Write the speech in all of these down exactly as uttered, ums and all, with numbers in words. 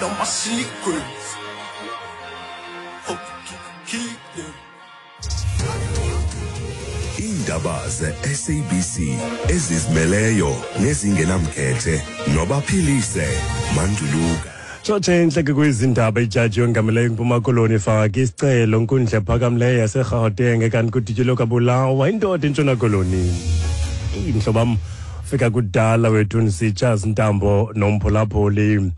All my secrets. Hope you keep them. Iindaba ze-S A B C ezizimeleyo nezingenamkhethe noBaphilise Manduluka. Tshotshe intleke kwizindaba. Ijaji yongameleyo eMpuma Koloni ifake isicelo nkundla ephakamileyo yaseRhawuteng kanti kudutyulwe kwabulawa indoda eNtshona Koloni. Iintlobam fika kudala wethu ndisitsha zintambo nomphulaphuli.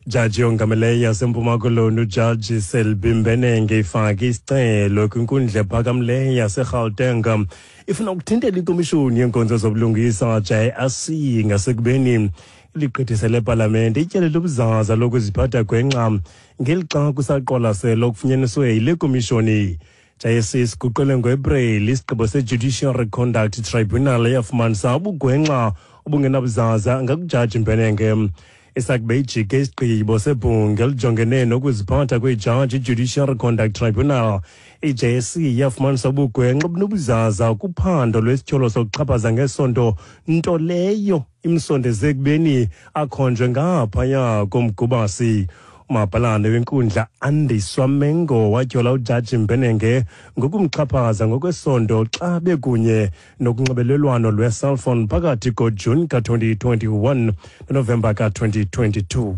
Jaji yongameleyo yaseMpuma Koloni, uJaji Selby Mbenenge, ifake isicelo kwinkundla ephakamileyo yaseRhawuteng, ifuna ukuthintela ikomishoni yeenkonzo zobulungisa, J S C, ngasekubeni ligqithisele epalamente ityala lobuzaza lokuziphatha gwenxa ngelixa kusaqwalaselo okufunyaniswe yile komishoni. J S C siguqule ngoEpreli isigqibo se-Judicial Conduct Tribunal eyafumanisa ubugwenxa obungenabuzaza ngakujaji Mbenenge. Isakube ijike isigqibo sebhunga elijongene nokuziphatha kweejaji, i-Judicial Conduct Tribunal, i-J S C yafumanisa ubugwenxa obunobuzaza kuphando lwesityholo sokuxhaphaza ngesondo, nto leyo imsondeze ekubeni akhonjwe ngaphaya komgubasi. Umabhalane wenkundla, Andiswa Mengo, watyhola ujaji Mbenenge ngokumxhaphaza ngokwesondo xa bekunye nokunxibelelwano lwe-cellphone phakathi koJuni ka-twenty twenty-one noNovemba ka-twenty twenty-two.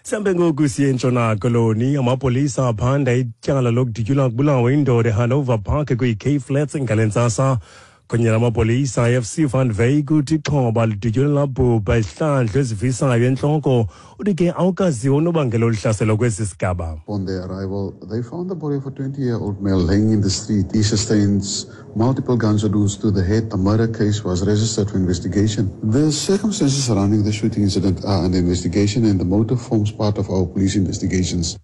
Sihambe ngoku siye eNtshona Koloni. Amapolisa aphanda ityala lokudutyulwa kubulawa indoda eHanover Park kwiiCape Flats ngale ntsasa. Kunye namapolisa I F C Van Wyk uthi ixhoba lidutyulwe labhubha izihlandlo ezivisayo entloko. Uthi ke awukaziwa unobangela oluhlaselo kwesi sigaba. Upon their arrival, they found the body of a twenty-year-old male laying in the street. He sustained multiple gunshot wounds to the head. A murder case was registered for investigation. The circumstances surrounding the shooting incident are under investigation and the motive forms part of our police investigations.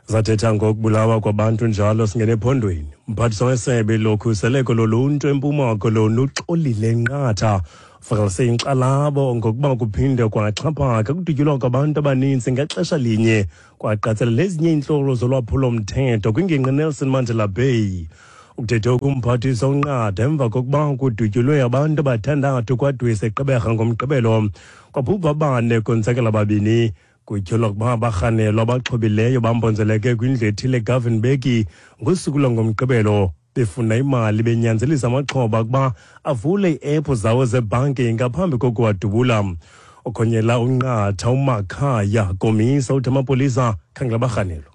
Zathetha ngokubulawa kwabantu njalo, singene ephondweni. Umphathiswa wesebe lokhuseleko loluntu eMpuma Koloni, uXolile Nqatha, uvakalise inkxalabo ngokuba kuphinde kwaxhaphaka kudutyulwa kwabantu abaninzi ngexesha linye, kwaqatsela nezinye iintlolo zolwaphulo-mthetho kwingingqi Nelson Mandela Bay. Ukuthethe ukumphathiswa uNqatha emva kokuba kudutyulwe abantu abathandathu KwaDwesi eGqeberha ngoMgqibelo, kwabhubha abane, konzakela babini. Kutyholwa ukuba abarhanelwa abaxhobileyo bambonzeleke kwindlu ethile eGovan Mbeki ngosuku lwangoMgqibelo befuna imali, benyanzelisa amaxhoba ukuba avule ii-ephu zawo zebhanki ngaphambi kokuwadubula. Okhonyela uNqatha, uMakhaya Komisa, uthi amapolisa khangela abarhanelwa.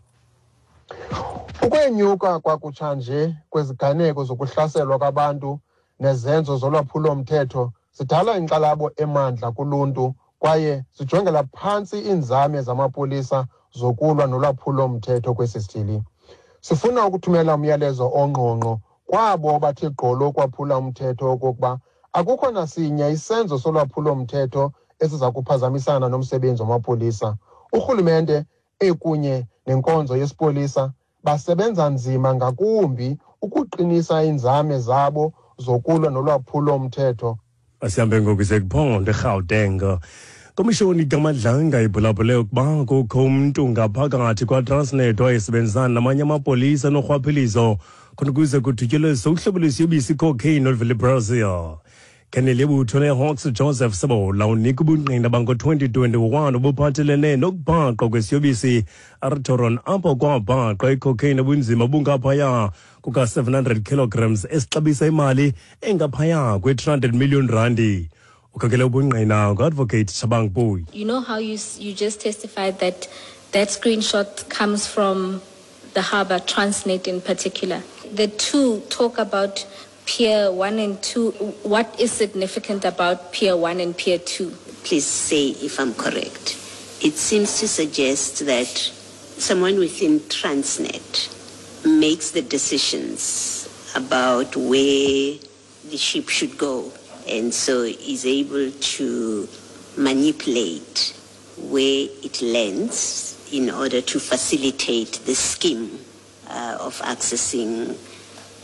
Ukwenyuka kwakutshanje kweziganeko zokuhlaselwa kwabantu nezenzo zolwaphulo-mthetho zidala inkxalabo emandla kuluntu kwaye zijongela phantsi iinzame zamapolisa zokulwa nolwaphulo-mthetho kwesi sithili. Sifuna ukuthumela umyalezo ongqongqo kwabo bathe gqolo ukwaphula umthetho okokuba akukho nasinye isenzo solwaphulo-mthetho esiza kuphazamisana nomsebenzi wamapolisa. Urhulumente ekunye nenkonzo yesipolisa basebenza nzima ngakumbi ukuqinisa iinzame zabo zokulwa nolwaphulo-mthetho. Asihambe ngoku sekuphondo eRhawuteng. Komishoni kaMadlanga ibhulabhule ukuba kukho umntu ngaphakathi kwaTransnet owayesebenzisana namanye amapolisa norhwaphilizo khona ukuze kudutyulwe uhlobo lwesiyobisi icocaine oluvela eBrazil. Kenele yebutho leHawks, Joseph Sebola, unika ubungqina bango-twenty twenty-one obuphathelene nokubhaqwa kwesiyobisi Ertoron, apho kwabhaqwa icocaine obunzima bungaphaya kuka-seven hundred kilograms esixabisa imali engaphaya kwe-three hundred million randi. Ukhokele ubungqina ngu-Advocate Shabang Boy. You know how you, you just testified that that screenshot comes from the harbour, Transnet in particular. The two talk about Pier one and two. What is significant about Pier one and Pier two? Please say if I'm correct. It seems to suggest that someone within Transnet makes the decisions about where the ship should go, and so is able to manipulate where it lands in order to facilitate the scheme uh, of accessing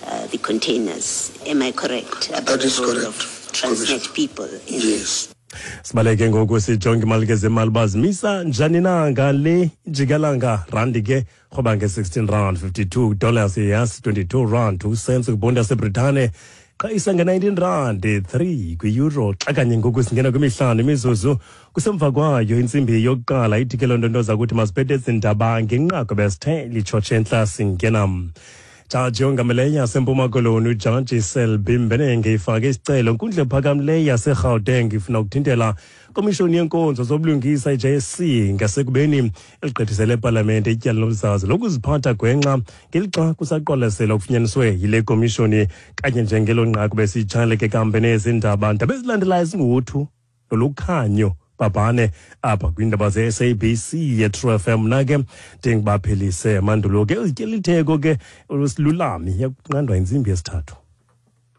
uh, the containers. Am I correct about That is the role correct, of Transnet Commissioner. People in Yes. Sibaleke ngoku sijonge imali ke zemali bazimisa njani na ngale njikalanga. Randi ke rhoba nge-sixteen rand fifty-two dollars, yes, twenty-two rand two cents kwibhondi yaseBritane. Qhayisa nge-nineteen rand three kwi-euro. Xa kanye ngoku singena kwimihlanu imizuzu kusemva kwayo intsimbi yokuqala, ithi ke loo nto nto zakuthi masiphethe ezi ndaba ngenqaku besithe litshotshe entla singena. Jaji ongameleyo yaseMpuma Koloni uJaji Selby Mbenenge ifake isicelo nkundla ephakamileyo yaseGauteng ifuna ukuthintela komishoni yenkonzo zobulungisa i-J S C ngasekubeni eligqithisele epalamente ityala lomzazi lokuziphatha gwenxa ngelixa kusaqwalaselwa okufunyaniswe yile komishoni. Kanye njengelo nqaku besitshaleke kambe nezindaba ndaba ezilandelayo zinguthu nolukhanyo babhane apha kwiindaba ze-S A B C ye-True F M. Mna ke ndingibaphelise mandulo ke uzityela itheko ke usilulami yakunqandwa intsimbi yesithathu.